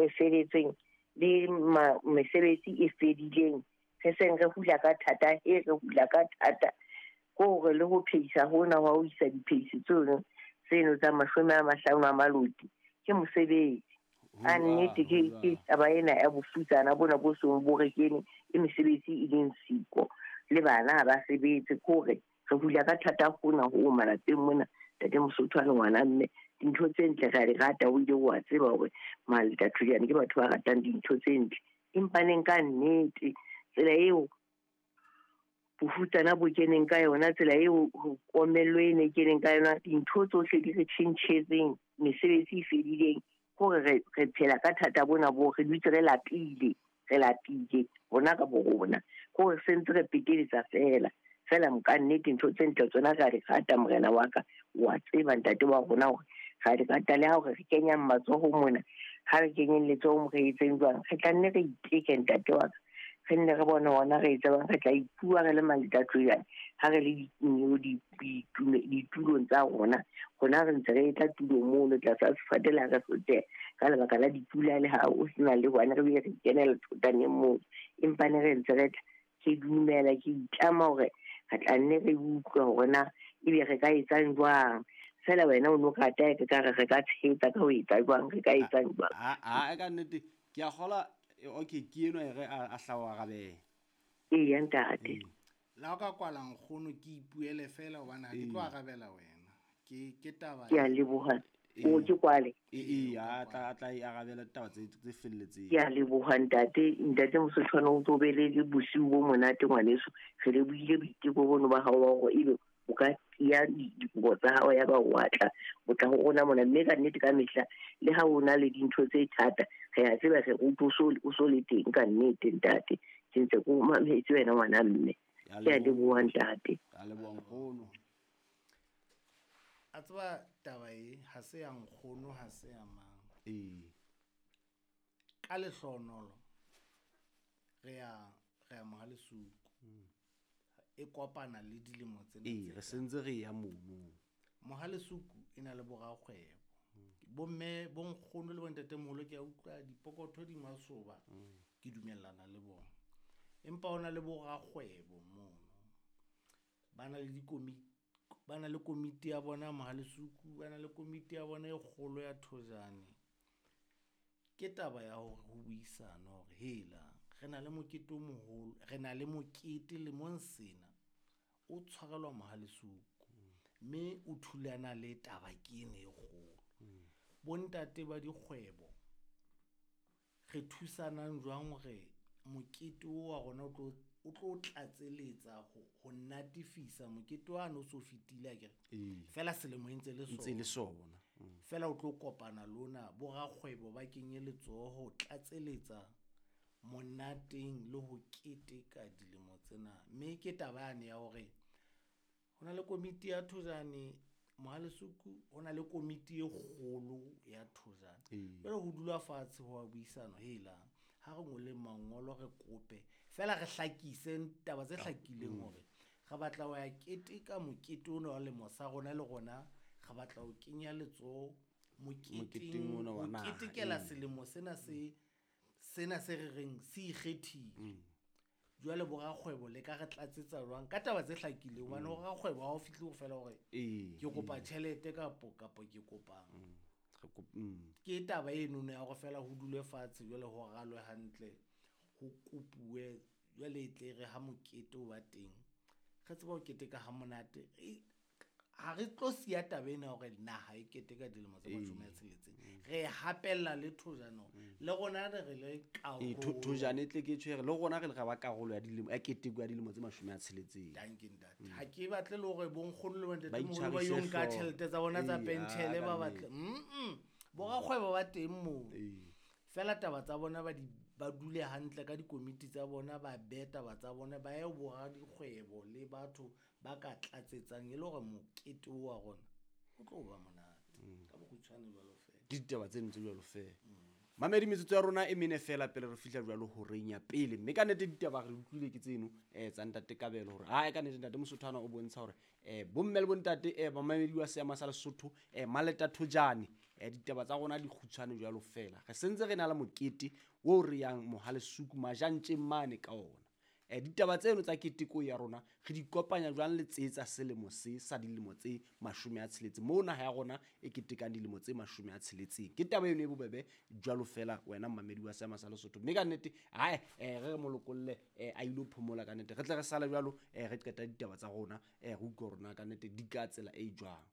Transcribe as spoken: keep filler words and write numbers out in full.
e feletseng le mesebetsi e fedileng, re seng re hula ka thata, e re hula ka thata ko hore le ho phehisa hona wa ho isa diphehisi tseno tseno tsa mashome a mahlano a maloti ke mosebetsi. A nnete ke ke taba ena ya bofutsana bona bo seng bo re kene e mesebetsi e leng siko le bana ha ba sebetse, kore re hula ka thata hona ho malapeng mona. Ntate Mosotho a le ngwana mme dintho tse ntle re a di rata, o ile wa tseba hore Maleta Thojane ke batho ba ratang dintho tse ntle, empa neng ka nnete tsela eo bofutsana bo keneng ka yona, tsela eo komello e ne keneng ka yona, dintho tsohle di re tjhentjhetseng, mesebetsi e fedileng, hore re re phela ka thata bona bo re dutse re lapile, re lapile rona ka bo rona, hore se ntse re peteletsa fela fela. Ka nnete ntho tse ntle tsona re a di rata, morena wa ka, wa tseba ntate wa rona hore re a di rata, le ha hore re kenyang matsoho mona, ha re kenyeng letsoho mo re etseng jwang, re tla nne re iteke ntate wa ka, re nne re bone hona re etse bang, re tla ipua re le Maleta Thojane ha re le ditulong tsa rona, rona re ntse re tla tulong mono tlasa sefate la re soteha ka lebaka la dipula, le ha o sena le hwane re be re kenela thotaneng moo, empa ne re ntse re tla. Ke dumela, ke itlama hore re tla nne re utlwe hore na ebe re ka etsang jwang. Fela wena o no rata ke ka re re ka tshehetsa ka ho etsa jwang, re ka etsang jwang. A a ka nnete ke a kgola. Okay, ke eno e re a hlawa arabela. Eya ntate. La o ka kwala nkgono ke ipuele fela hobane ha ke tlo arabela wena. Ke ke taba. Ke a leboha. O ke kwale. Ee, a tla a tla e arabela taba tse tse felletseng. Ke a leboha ntate, ntate Mosotho o tlo be le bosiu bo monate ngwaneso. Re lebohile boiteko bono ba hao ba hore ebe o ka ya dikobo tsa hao ya ba wa tla o tla ho rona mona, mme ka nnete ka mehla le ha o na le dintho tse thata re a tseba re o so o so le teng ka nnete ntate. Ke ntse ko mametse wena ngwana mme. Ke a leboha ntate. A leboha nkgono. A tseba taba e ha se ya nkgono, ha se ya mang. Ee. Ka lehlonolo re ya re ya Mohalesuku. E kopana le dilemo tsena. Ee, re sentse re ya mono. Mohalesuku e na le borakgwebo. Bomme bo nkgono le bontatemoholo ke a utlwa dipokotho di masoba, ke dumellana le bona. Empa hona le borakgwebo mono. Ba na le dikomiti, ba na le komiti ya bona Mohalesuku, ba na le komiti ya bona e kgolo ya Thojane. Ke taba ya hore ho buisana hore hela re na le mokete o moholo, re na le mokete lemong sena o tshwarelwa Mohalesuku, mme o thulana le taba ke ena e kgolo. Bontate ba dikgwebo re thusanang jwang hore mokete o wa rona o tlo o tlo tlatseletsa ho ho natifisa mokete wa no so fetile akere, fela selemo e ntse le sona, ntse le sona fela o tlo kopana lona borakgwebo ba kenye letsoho tlatseletsa monateng le ho keteka dilemo tsena. Mme ke taba yane ya hore ho na le komiti ya Thojane Mohalesuku, ho na le komiti e kgolo ya Thojane. Jwale ho dula fatshe ho a buisana, hela ha re ngole mangolo re kope fela re hlakise taba tse hlakileng hore re batla ho ya keteka mokete ona wa lemo sa rona, le rona re batla ho kenya letsoho moketeng ona wa naha, ketekela selemo sena se sena se re reng se ikgethile. Jwale borakgwebo le ka re tlatsetsa jwang ka taba tse hlakileng, hobane borakgwebo ha o fihle ho fela hore ke kopa tjhelete kapo kapo ke kopang. Ke taba eno ya hore fela ho dulwe fatshe jwale ho ralwe hantle, ho kopuwe jwale e tle re ha mokete o ba teng re tseba ho keteka ha monate. Ha re tlo siya taba ena hore naha e keteka dilemo tse mashome a tsheletseng, re hapella le Thojane le rona re re le karolo. Thojane e tle ke tshwere le rona re le ra ba karolo ya dilemo ya keteko ya dilemo tse mashome a tsheletseng. Dankie ntate. Ha ke batle le hore bonkgono le bontatemoholo ba yo nka tjhelete tsa bona tsa penshele ba batle. Mm borakgwebo ba teng moo. Fela taba tsa bona ba di ba dule hantle ka dikomiti tsa bona, ba behe taba tsa bona, ba ye boradikgwebo le batho ba ka tlatsetsang e le hore mokete wa rona o tlo ba monate. Ka bokgutshwane jwalo fela. Ke ditaba tseno tse jwalo fela. Mamedi metsotso ya rona e mene fela pele re fihla jwalo horeng ya pele, mme ka nnete ditaba re utlwile ke tseno eh tsa ntate Kabelo hore ha ka nnete ntate Mosothwana o bontsha hore eh bomme le bontate eh bamamedi wa seama sa Lesotho eh Maleta Thojane um ditaba tsa rona di kgutshwane jwalo fela. Re sentse re na le mokete o re yang Mohalesuku Majantjeng mane ka ona. Um ditaba tseno tsa keteko ya rona re di kopanya jwang le tse tsa selemo se sa dilemo tse mashome a tsheletseng, moo naha ya rona e ketekang dilemo tse mashome a tsheletseng. Ke taba eno e bobebe jwalo fela wena mmamedi wa seama sa Lesotho. Mme ka nnete ae um re re mo lokolle um a ilo phomola ka nnete, re tle re sale jwalo um re qeta ditaba tsa rona, um re utlwe hore na ka nnete di ka tsela e jwang.